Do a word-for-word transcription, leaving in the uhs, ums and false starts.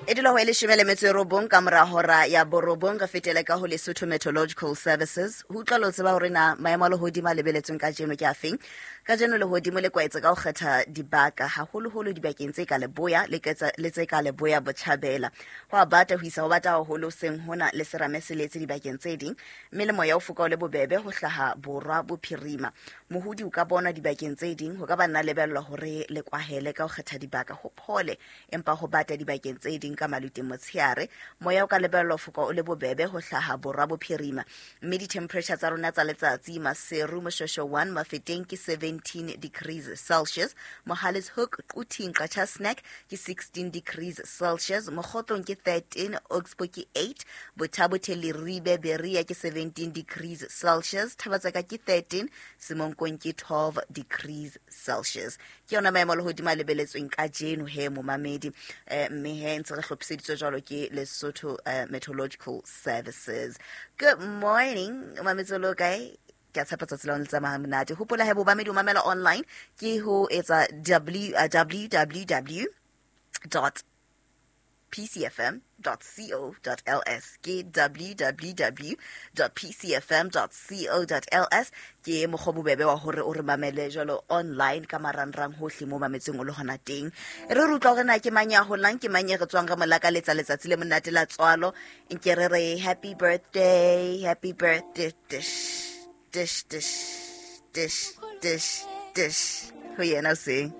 E dula ho e leshome le metso e robong ka mora hora ya borobong. Re fetele ka ho Lesotho Meteorological Services ho utlwa le ho tseba hore na maemo a lehodimo a lebeletsweng kajeno ke afeng. Kajeno lehodimo le kwaetse ka ho kgetha dibaka, haholoholo dibakeng tse ka leboya le ketsa- le tse ka leboya botjhabela. Ho a bata ho isa ho bata haholo seng hona le serame se letse dibakeng tse ding, mme le moya o foka o le bobebe ho hlaha borwa bophirima. Mohodi o ka bonwa dibakeng tse ding, ho ka ba nna lebellwa hore le kwahele ka ho kgetha dibaka ho phole, empa ho bata dibakeng tse ding ka maluteng motshehare. Moya o ka lebellwa ho foka o le bobebe ho hlaha borwa bophirima, mme di-temperature tsa rona tsa letsatsi: Maseru, Moshosho one, Mafeteng ke seventeen degrees Celsius, Mohale's Hoek, Quthing, Qacha's Nek ke sixteen degrees Celsius, Mokhotlong ke thirteen, Oxbow ke eight, Botha-Bothe, Leribe, Berea ke seventeen degrees Celsius, Thaba-Tseka ke thirteen, Semonkong ke twelve degrees Celsius. Ke yona maemo a lehodimo a lebeletsweng kajeno he momamedi, eh, mme he ntse re hlophiseditswe jwalo ke Lesotho eh, Meteorological Services. Good morning, mametse lo kae? Ke a tshepa tsatsi la le tsamaya monate. Hopola he bomamedi, o mamela online ke ho etsa w uh, www dot p c f m dot co dot l s, ke w w w dot p c f m dot co dot l s. Ke mokgwa o bobebe wa hore o re mamele jwalo online ka marangrang hohle mo mametseng o le hona teng. E re re utlwa hore na ke mang ya holang, ke mang e re tswang re mo lakaletsa letsatsi le monate la tswalo. Nke re re happy birthday, happy birthday, dish dish dish dish dish dish ho yena o seng.